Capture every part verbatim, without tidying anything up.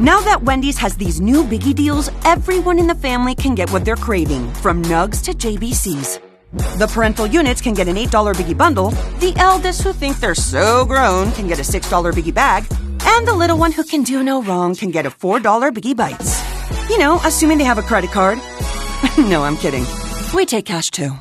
Now that Wendy's has these new biggie deals, everyone in the family can get what they're craving, from nugs to J B Cs. The parental units can get an eight dollar biggie bundle, the eldest who think they're so grown can get a six dollar biggie bag, and the little one who can do no wrong can get a four dollar biggie bites. You know, assuming they have a credit card. No, I'm kidding. We take cash too.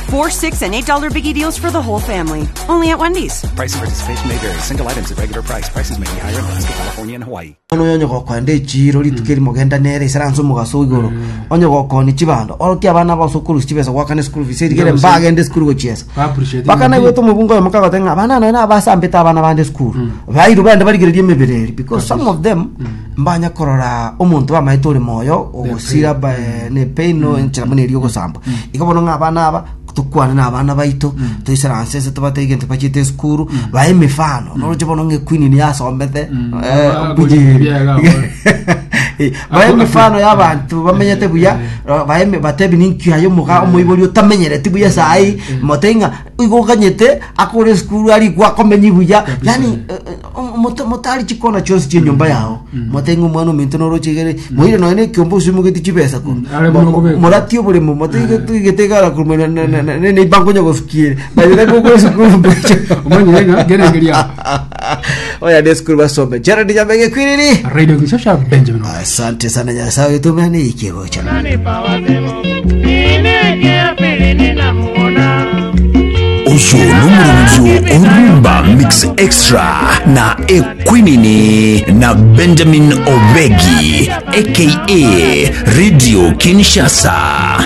Four, six, and eight dollar biggie deals for the whole family. Only at Wendy's. Price and participation may vary. Single items at regular price. Prices may be higher in Alaska, California, and Hawaii. Ono onye gokoenda echiro rituko erimo genda nere isaranse omogaso igoro onye gokoni chibando orokia abana bose okorusia chibesa gwakana school fees erigere mbagende school gochiesa. Ba appreciate. Bakana igwete omobungo oyo mukagote ng'a abana nonya abasambete abana bande school bairu bende barigereria emebere eri because some of them mbanya korora omonto bamaete ore moyo ogosira ba- ne pain no enchera buna eri ogosamba. Igo bono ng'a abana aba tukwane na abana baito toisaranse ase tobatebie gento bachete esukuru bae emifano noroche bono ng'a equeen ni yasombete eh, Ba- bujeri. biega, Eh, bae emifano y'abantu bamenyete buya bae batebi ninki ayo omoga omoibori otamenyereti buya sai mote ng'a igo oganyete akore esukuru arikwa akomenyi buya yani eh, eh, mote- motari chikona chionsi chia enyomba yao mote ng'a omwana ominto noroche igere moire nonya na ekiombe osimogeti chibesa koru. Are Mo- buno mo- kobeka. Morati oboremo mote igete igara korwa neibango nyagosukiere bayire esukuru. Omanyire ng'a gerengeria. Oya ne esukuru basome. Gerald Nyamege Kwiriri. Radio Gishasha Benjamin. Asante sana Nyasaye utumane ikigocha. Oyo n'omurubyo Orumba Mix Extra na Equinini na Benjamin Obegi aka Radio Kinshasa.